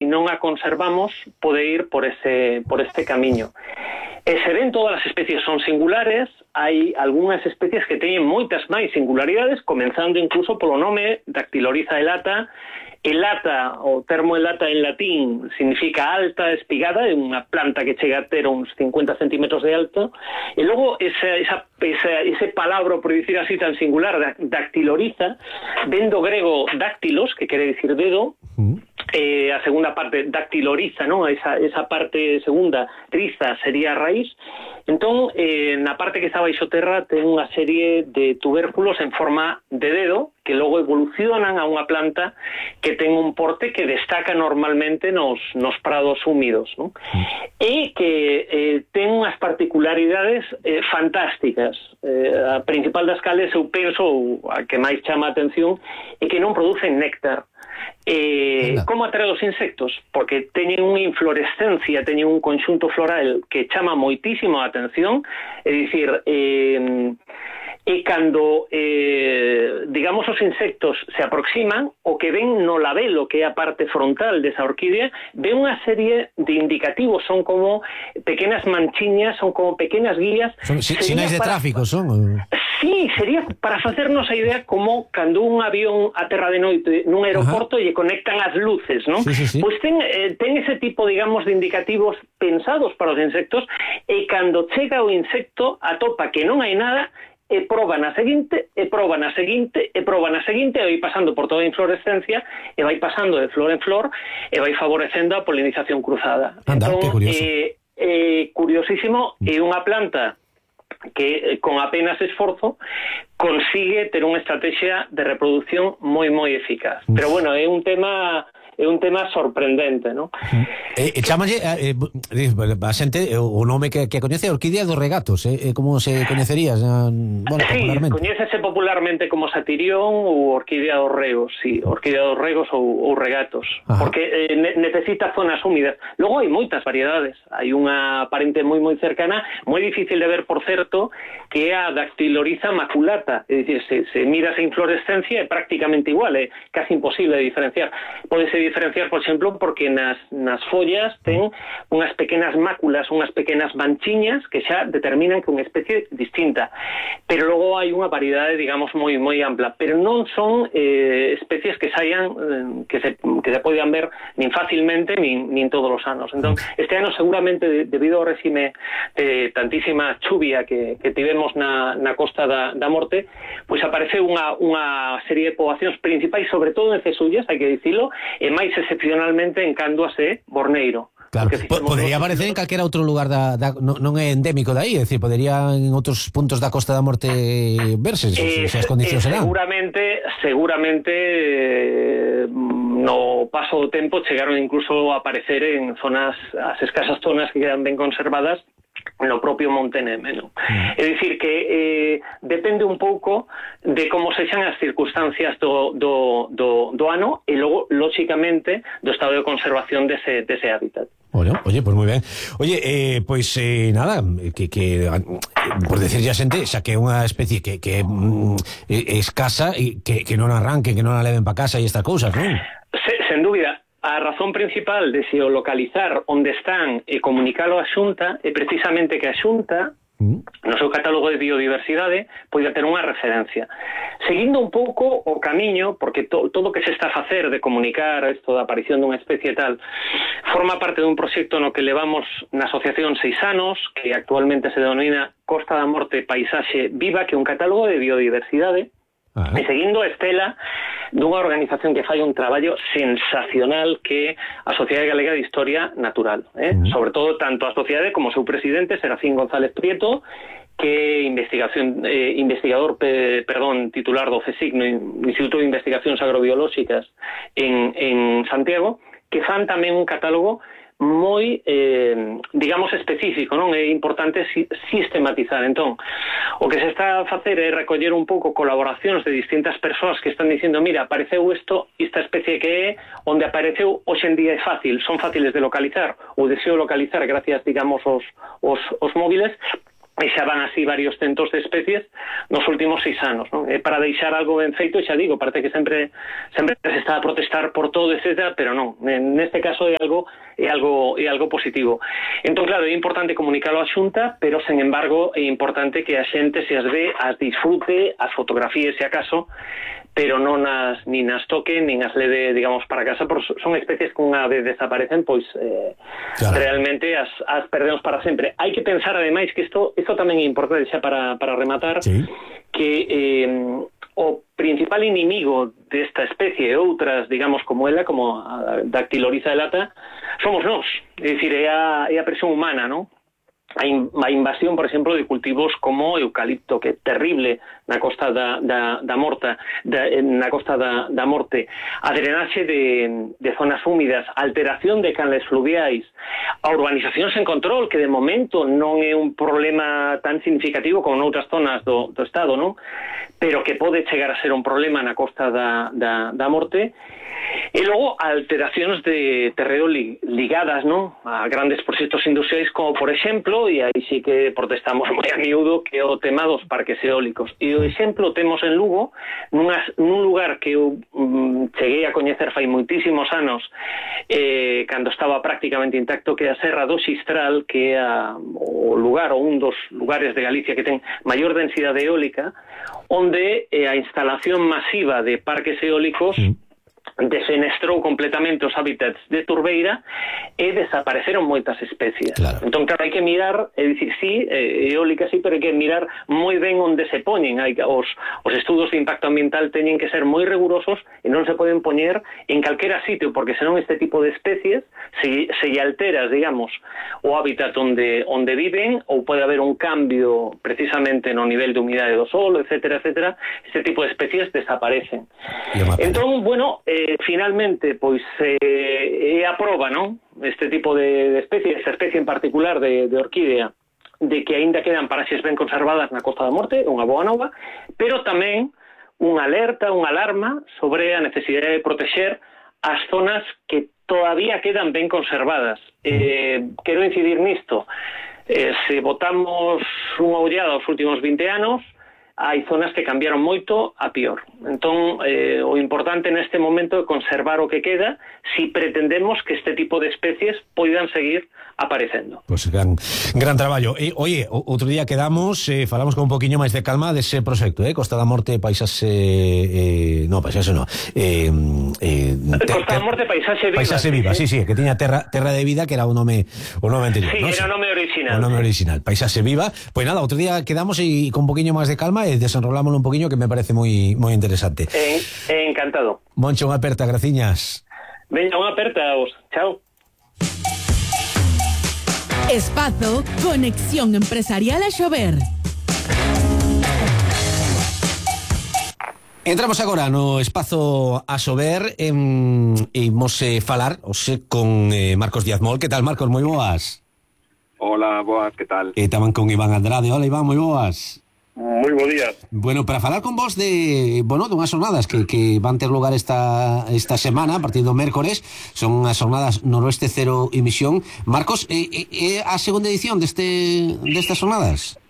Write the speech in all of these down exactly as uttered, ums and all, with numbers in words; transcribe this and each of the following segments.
non a conservamos pode ir por ese por este camiño. E se ven todas as especies son singulares, hai algunhas especies que teñen moitas máis singularidades, comenzando incluso polo nome Dactylorhiza elata. Elata, o termo elata en latín, significa alta, espigada, é unha planta que chega a ter uns cincuenta centímetros de alto, e logo esa, esa, esa, ese palabra, por dicir así, tan singular, Dactylorhiza, ven do grego dáctilos, que quere dicir dedo, mm. eh, a segunda parte, Dactylorhiza, ¿no? esa, esa parte segunda, riza, sería a raíz. Entón, eh, na parte que está baixo terra ten unha serie de tubérculos en forma de dedo que logo evolucionan a unha planta que ten un porte que destaca normalmente nos, nos prados húmidos, ¿no? E que eh, ten unhas particularidades eh, fantásticas. Eh, a principal das cales, eu penso, a que máis chama a atención, é que non producen néctar. Eh, como atrae os insectos? Porque teñen unha inflorescencia, teñen un conxunto floral que chama moitísimo a atención, é dicir, eh, e cando, eh, digamos, os insectos se aproximan, o que ven no labelo, que é a parte frontal desa orquídea, ven unha serie de indicativos, son como pequenas manchiñas, son como pequenas guías. Son sinais de para... tráfico, son? Sí, sería para facernos a idea como cando un avión aterra de noite nun aeroporto e conectan as luces, non? Sí, sí, sí. Pois ten, eh, ten ese tipo, digamos, de indicativos pensados para os insectos, e cando chega o insecto atopa que non hai nada, e proba na seguinte, e proba na seguinte, e proba na seguinte, e vai pasando por toda a inflorescencia, e vai pasando de flor en flor, e vai favorecendo a polinización cruzada. Anda, entón, que curioso. Eh, eh, curiosísimo, é unha planta que con apenas esforzo consigue ter unha estrategia de reproducción moi moi eficaz. Pero bueno, é un tema é un tema sorprendente, ¿no? Eh, eh, chamalle eh, eh, a xente o nome que, que coñece Orquídea dos Regatos, eh, como se coñecería, eh, bueno, sí, popularmente. Coñécese popularmente como Satirión ou Orquídea dos Regos, sí, Orquídea dos Regos ou, ou Regatos. Ajá. Porque eh, ne necesita zonas húmidas. Logo hai moitas variedades, hai unha parente moi moi cercana, moi difícil de ver, por certo, que é a Dactylorhiza maculata, é dicir, se, se mira esa inflorescencia é prácticamente igual, é casi imposible de diferenciar. Pode ser diferenciar, por exemplo, porque nas, nas follas ten unhas pequenas máculas, unhas pequenas manchiñas que xa determinan que é unha especie distinta. Pero logo hai unha variedade, digamos, moi moi ampla, pero non son eh, especies que saian eh, que se que se podan ver nin facilmente nin, nin todos os anos. Entón, este ano seguramente de, debido ao réxime de tantísima chuvia que, que tivemos na, na costa da, da Morte, pois apareceu unha, unha serie de poboacións principais, sobre todo en Cesullas, hai que dicilo, e máis excepcionalmente en Canduas e Borneiro. Claro, podería aparecer en calquera outro lugar da, da non, non é endémico de aí, é dicir, podería en outros puntos da Costa da Morte verse, se, eh, se as condicións eh, serán. Seguramente, seguramente eh, no paso do tempo chegaron incluso a aparecer en zonas, as escasas zonas que quedan ben conservadas no propio Monte Neme, ¿no? Mm. É dicir que eh, depende un pouco de como sexan as circunstancias do, do, do, do ano e logo, lóxicamente, do estado de conservación dese, dese hábitat. Bueno, oye, pues moi ben. Oye, eh, pois pues, eh, nada, que, que por decirlle a xente, xa que é unha especie que, que mm, é escasa e que, que non arranquen, que non a leven pa casa e estas cousas, non? Se, sen dúbida. A razón principal de se localizar onde están e comunicalo á Xunta é precisamente que a Xunta, no seu catálogo de biodiversidade, poida ter unha referencia. Seguindo un pouco o camiño, porque to, todo o que se está a facer de comunicar isto da aparición dunha especie tal, forma parte dun proxecto no que levamos na asociación seis anos, que actualmente se denomina Costa da Morte Paisaxe Viva, que é un catálogo de biodiversidade. Ah. E seguindo a estela dunha organización que fai un traballo sensacional que é a Sociedade Galega de Historia Natural, eh? Uh -huh. Sobre todo tanto a sociedade como o seu presidente Serafín González Prieto, que é investigación eh, investigador pe, perdón, titular do CSIC, no Instituto de Investigacións Agrobiolóxicas en, en Santiago, que fan tamén un catálogo moi, eh, digamos, específico, non? É importante si, sistematizar. Entón, o que se está a facer é recoller un pouco colaboracións de distintas persoas que están dicindo, mira, apareceu isto, esta especie que é, onde apareceu, hoxe en día é fácil, son fáciles de localizar, ou deseo localizar gracias, digamos, aos, os, os móviles, e xa van así varios centos de especies nos últimos seis anos, non? E para deixar algo ben feito, xa digo, parece que sempre sempre se está a protestar por todo, etcétera, pero non, neste caso é algo é algo é algo positivo. Entón, claro, é importante comunicalo á Xunta, pero, sen embargo, é importante que a xente se as ve, as disfrute, as fotografíe, se acaso, pero non as, nin as toque, nin as leve, digamos, para casa, porque son especies que unha vez desaparecen, pois eh, claro, realmente as, as perdemos para sempre. Hai que pensar, ademais, que isto, isto tamén é importante, xa para, para rematar, sí, que eh, o principal inimigo desta especie e outras, digamos, como ela, como a Dactylorhiza elata, somos nós, é dicir, é a, é a presión humana, non? A, in, a invasión, por exemplo, de cultivos como eucalipto, que é terrible na costa da, da, da morta, da, na costa da, da morte, a drenaxe de, de zonas húmidas, a alteración de canles fluviais, a urbanización sen control, que de momento non é un problema tan significativo como noutras zonas do, do estado, non? Pero que pode chegar a ser un problema na costa da, da, da morte. E logo alteracións de terreo li, ligadas, non, a grandes proxectos industriais, como por exemplo, e aí sí que protestamos moi a miúdo, que é o tema dos parques eólicos. E o exemplo temos en Lugo, nunhas, nun lugar que eu um, cheguei a coñecer fai moitísimos anos, eh, cando estaba prácticamente intacto, que é a Serra do Xistral, que é a, o lugar, ou un dos lugares de Galicia que ten maior densidade eólica, onde eh, a instalación masiva de parques eólicos sí defenestrou completamente os hábitats de turbeira e desapareceron moitas especies. Claro. Entón, claro, hai que mirar, é dicir, sí, eólica sí, pero hai que mirar moi ben onde se poñen. Hai, os, os estudos de impacto ambiental teñen que ser moi rigurosos e non se poden poñer en calquera sitio, porque senón este tipo de especies se, se alteras, digamos, o hábitat onde, onde viven, ou pode haber un cambio precisamente no nivel de humidade do solo, etcétera, etcétera, este tipo de especies desaparecen. Entón, bueno, eh, finalmente, pois eh, é a proba, non? Este tipo de, de especie, esta especie en particular de, de orquídea, de que aínda quedan paraxes ben conservadas na Costa da Morte, unha boa nova, pero tamén unha alerta, unha alarma sobre a necesidade de protexer as zonas que todavía quedan ben conservadas. Eh, quero incidir nisto. Eh, se botamos unha ollada aos últimos vinte anos, hai zonas que cambiaron moito a pior. Entón, eh, o importante neste momento é conservar o que queda si pretendemos que este tipo de especies poidan seguir aparecendo. Pois pues gran, gran traballo. E, oye, outro día quedamos, eh, falamos con un poquinho máis de calma dese proxecto, eh? Costa da Morte, paisaxe... Eh, no, paisaxe no. Eh, eh, te, Costa da Morte, paisaxe viva. Paisaxe viva, sí, sí, que tiña terra, terra de vida, que era o nome, o nome anterior. Sí, ¿no? era o nome original. O nome original, paisaxe viva. Pois pues nada, outro día quedamos e con un poquinho máis de calma e desenrolámoslo un poquinho, que me parece moi moi interesante. Eh, eh, encantado. Moncho, unha aperta, graciñas. Veña, unha aperta a vos. Chao. Espazo Conexión Empresarial a Xover. Entramos agora no Espazo a Xover e imos eh, falar ose con eh, Marcos Díaz Mol. Que tal, Marcos? Moi boas. Hola, boas, que tal? E tamén con Iván Andrade. Hola, Iván, moi boas. Moi bo día. Bueno, para falar con vos de, bueno, dunhas xornadas que, que van ter lugar esta esta semana, a partir do mércores, son as xornadas Noroeste Cero Emisión. Marcos, é, é a segunda edición deste destas xornadas?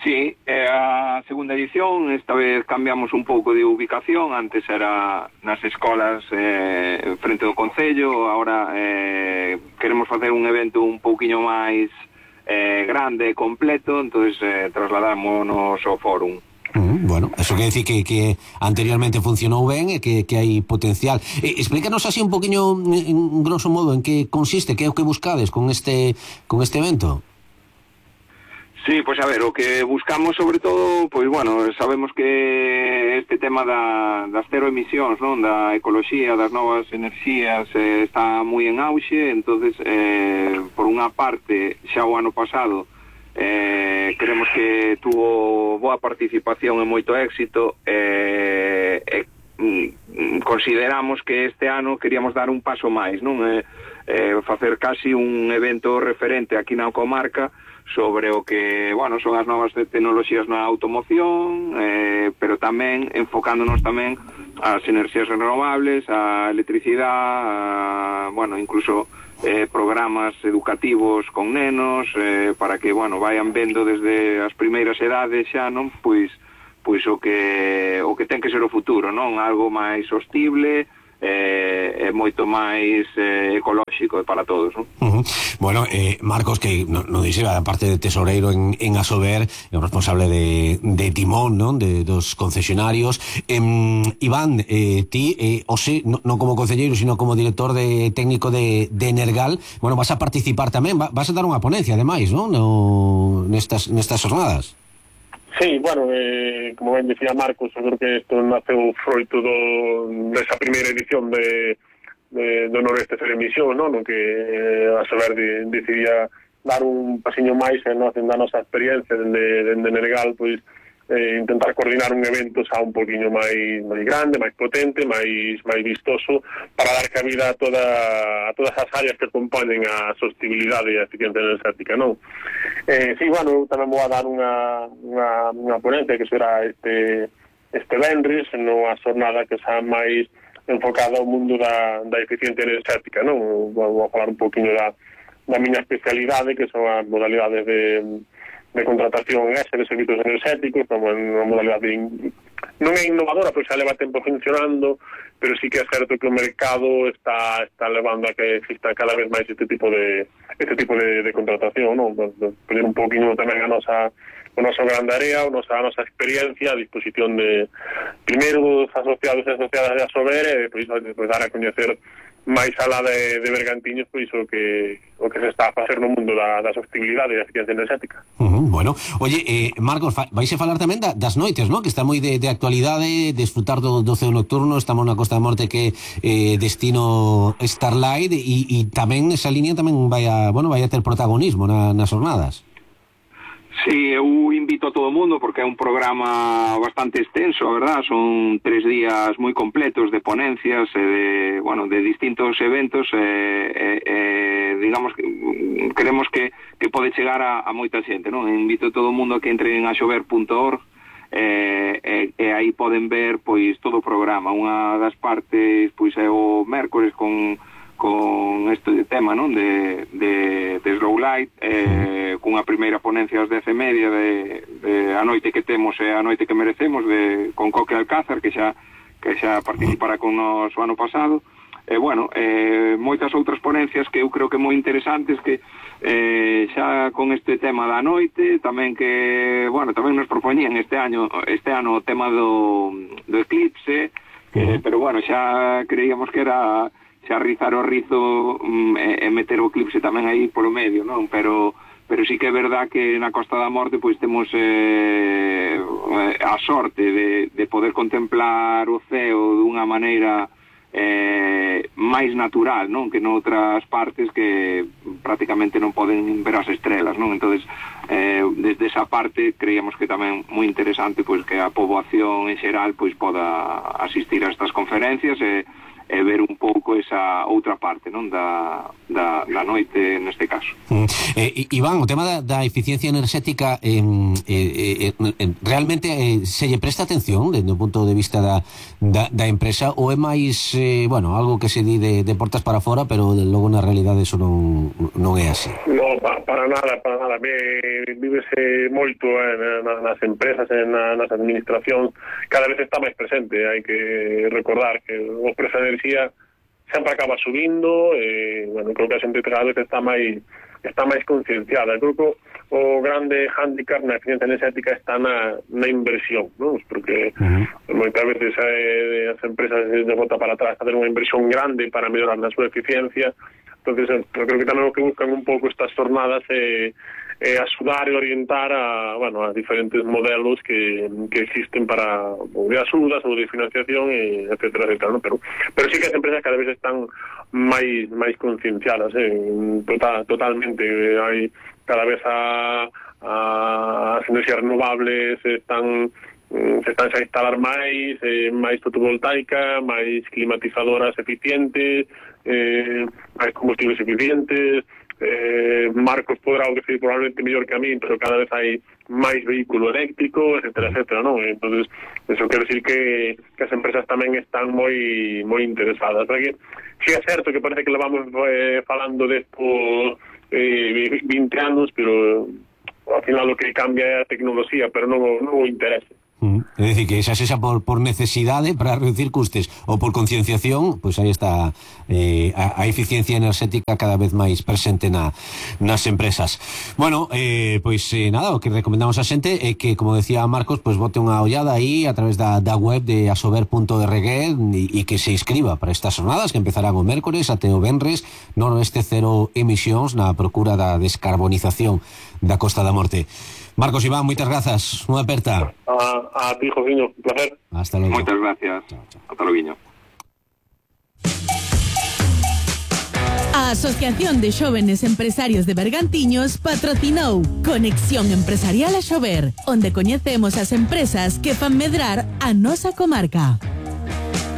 Sí, é a segunda edición. Esta vez cambiamos un pouco de ubicación. Antes era nas escolas eh, frente do Concello. Ahora eh, queremos facer un evento un pouquiño máis Eh, grande e completo, entonces eh, trasladámonos ao fórum. Mm, bueno, eso quer decir que, que anteriormente funcionou ben e que, que hai potencial. Eh, explícanos así un poquinho, en grosso modo, en que consiste, que é o que buscades con este con este evento. Sí, pois a ver, o que buscamos sobre todo, pois bueno, sabemos que este tema da, das cero emisións, non, da ecoloxía, das novas enerxías eh, está moi en auxe. Entonces, eh, por unha parte, xa o ano pasado eh, queremos que tuvo boa participación e moito éxito, eh, e mm, consideramos que este ano queríamos dar un paso máis, non, eh, eh, facer casi un evento referente aquí na comarca sobre o que, bueno, son as novas tecnoloxías na automoción, eh, pero tamén enfocándonos tamén as enerxías renovables, a electricidade, a, bueno, incluso eh, programas educativos con nenos, eh, para que, bueno, vayan vendo desde as primeiras edades xa, non? Pois, pois o que o que ten que ser o futuro, non? Algo máis sostible, eh, é moito máis eh, ecolóxico para todos, non? Uh-huh. Bueno, eh, Marcos, que no, no dixe, aparte de tesoreiro en, en Asober, é o responsable de, de timón, non? De dos concesionarios. eh, Iván, eh, ti, eh, ose, non no como concelleiro, sino como director de técnico de, de Energal, bueno, vas a participar tamén, va, vas a dar unha ponencia, ademais, non? No, nestas, nestas jornadas. Sí, bueno, eh, como ben decía Marcos, eu creo que isto naceu froito do, desa primeira edición de, de, do Noroeste Cero Emisión, non? No que eh, Asober de, decidía dar un pasiño máis en, no, en da nosa experiencia dende, dende Energal, pois eh, intentar coordinar un evento xa un poquinho máis, máis grande, máis potente, máis, máis vistoso, para dar cabida a, toda, a todas as áreas que componen a sostenibilidade e a eficiencia energética, non? Eh, sí, bueno, tamén vou a dar unha, unha, unha ponencia que será este, este venres, nunha xornada que xa máis enfocada ao mundo da, da eficiencia energética, non? Vou, vou a falar un poquinho da, da miña especialidade, que son as modalidades de de contratación ese de servicios energéticos, como unha modalidade in... non é innovadora, pois xa leva tempo funcionando, pero sí que é certo que o mercado está está levando a que exista cada vez máis este tipo de este tipo de, de contratación, non? Poner un poquinho tamén a nosa o noso grande área, a nosa, a nosa experiencia a disposición de primeiro dos asociados e asociadas de Asober, e pois, pois dar a coñecer máis alá de, de Bergantiños, pois o que o que se está a facer no mundo da, da sostenibilidade e da eficiencia energética. Uh-huh, bueno, oye, eh, Marcos, vais a falar tamén da, das noites, ¿no? Que está moi de, de actualidade, desfrutar do, do ceo nocturno. Estamos na Costa da Morte, que eh, destino Starlight, e, e tamén esa línea tamén vai a, bueno, vai a ter protagonismo na, nas jornadas. Sí, eu invito a todo o mundo porque é un programa bastante extenso, a verdad, son tres días moi completos de ponencias e de, bueno, de distintos eventos, e, e, e digamos que queremos que, que pode chegar a, a moita xente, non? Invito a todo o mundo a que entre en asober punto org e, e, e aí poden ver pois todo o programa. Unha das partes pois é o mércores con con este tema, non? De, de, de Slow Light, eh, cunha primeira ponencia ás dez e media de, de a noite que temos e a noite que merecemos, de, con Coque Alcázar, que xa que xa participará con nos o ano pasado. E, bueno, eh, moitas outras ponencias que eu creo que moi interesantes, que eh, xa con este tema da noite, tamén que, bueno, tamén nos propoñían este año este ano o tema do, do eclipse, que, pero, bueno, xa creíamos que era xa rizar o rizo um, e, e meter o eclipse tamén aí polo medio, non? Pero pero sí que é verdad que na Costa da Morte pois temos eh, a sorte de, de poder contemplar o ceo dunha maneira eh, máis natural, non? Que noutras partes que prácticamente non poden ver as estrelas, non? Entonces, eh, desde esa parte creíamos que tamén moi interesante pois que a poboación en xeral pois poda asistir a estas conferencias e e ver un pouco esa outra parte, non, da, da, da noite neste caso. Mm. Eh, Iván, o tema da, da eficiencia enerxética, eh, eh, eh, realmente eh, se lle presta atención desde o punto de vista da, da, da empresa, ou é máis, eh, bueno, algo que se di de, de portas para fora, pero logo na realidade eso non, non é así? No, pa, para nada, para nada. Vívese moito eh, nas empresas, na, nas administracións, cada vez está máis presente. Hai que recordar que o preço de enerxía sempre acaba subindo, e, bueno, creo que a xente cada vez está máis está máis concienciada. Creo que o grande hándicap na eficiencia energética está na, na inversión, non? Porque uh-huh. moitas veces eh, as empresas de bota para atrás facer unha inversión grande para mellorar na súa eficiencia. Entonces, eu creo que tamén o que buscan un pouco estas jornadas é, é axudar e orientar a, bueno, a diferentes modelos que, que existen para ou de axudas ou de financiación, e etcétera, etcétera, ¿no? Pero, pero sí que as empresas cada vez están máis máis concienciadas, eh, total, totalmente. Hai cada vez a, a, as enerxías renovables están se están a instalar máis, eh, máis fotovoltaica, máis climatizadoras eficientes, eh, máis combustibles eficientes, eh, Marcos podrá o decir probablemente mellor que a mí, pero cada vez hai máis vehículo eléctrico, etcétera, etcétera, non? Entonces, eso quero decir que, que as empresas tamén están moi moi interesadas. Porque si é certo que parece que levamos eh, falando desto eh, vinte anos, pero ao final o que cambia é a tecnoloxía, pero non, non o interesa. Mm. É dicir, que xa sexa por, por necesidade para reducir custes ou por concienciación, pois aí está eh, a, a eficiencia enerxética cada vez máis presente na, nas empresas. Bueno, eh, pois eh, nada, o que recomendamos a xente é que, como decía Marcos, pois bote unha ollada aí a través da, da web de asober punto org e, e que se inscriba para estas jornadas que empezarán o mércores até o venres, Noroeste Cero Emisións, na procura da descarbonización da Costa da Morte. Marcos, Iván, moitas grazas. Unha aperta. A, a ti, Josiño, un placer. Hasta logo. Moitas gracias. Chao, chao. Hasta logo. A Asociación de Xóvenes Empresarios de Bergantiños patrocinou Conexión Empresarial a Xover, onde coñecemos as empresas que fan medrar a nosa comarca.